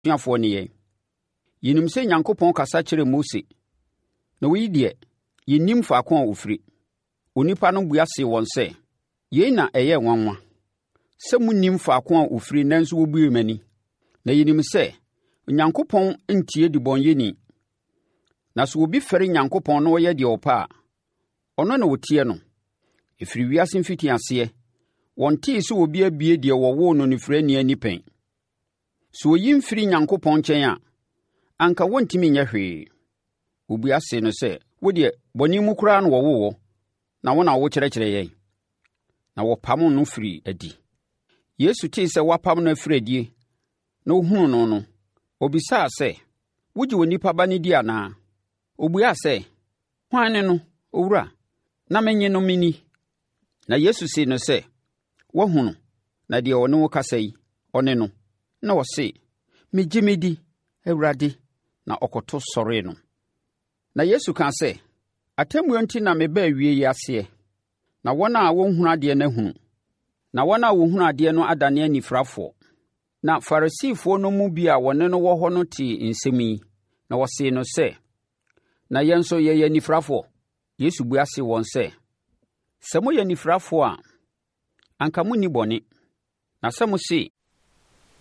N'asuafoɔ ne yɛn. Yɛnim sɛ Onyankopɔn kasa kyerɛɛ Mose, na oyi deɛ, yɛnnim faako a ɔfiri.” Onipa no bua see wɔn sɛ, “Yei na ɛyɛ nwanwa, sɛ monnim faako a ɔfiri nanso wabuee m'ani. Na yɛnim sɛ Onyankopɔn ntie ɔdebɔneyɛfoɔ. Na sɛ obi fɛre Onyankopɔn na ɔyɛ deɛ ɔpɛ a, ɔno na ɔtie no. Ɛfiri wiase mfitiaseɛ, wɔntee sɛ obi abue deɛ wɔwoo no onifirani ani pɛn. Sɛ oyi mfiri Onyankopɔn nkyɛn a, anka ɔrentumi nyɛ hwee.” Wɔbua see no sɛ, “Wo deɛ, bɔne mu koraa na wɔwoo wo, na wo na worekyerɛkyerɛ yɛn?” Na wɔpamoo no firii adi. Yesu tee sɛ wɔapam no afiri adie na ɔhunuu no no, ɔbisaa sɛ, “Wogye Onipa Ba no di anaa?” Ɔbuaa sɛ, “Hwan ne no, Owura, na mennye no menni?” Na Yesu see no sɛ, “Woahu no, na deɛ ɔne wo rekasa yi, ɔne no.” Na ɔse, “Megye medi, Awurade,” na ɔkoto sɔree no. Na Yesu kaa sɛ, “Atemmuo enti na mebaa wie yi aseɛ, na wɔn a wɔnhunu adeɛ no ahunu, na wɔn a wɔhunu adeɛ no adane anifirafoɔ.” Na Farisifoɔ no mu bi a wɔne no wɔ hɔ no tee nsɛm yi, na wɔsee no sɛ, “Na yɛn nso yɛyɛ anifirafoɔ?” Yesu bua see wɔn sɛ, “Sɛ moyɛ anifirafoɔ a, anka monni bɔne. Na sɛ mose,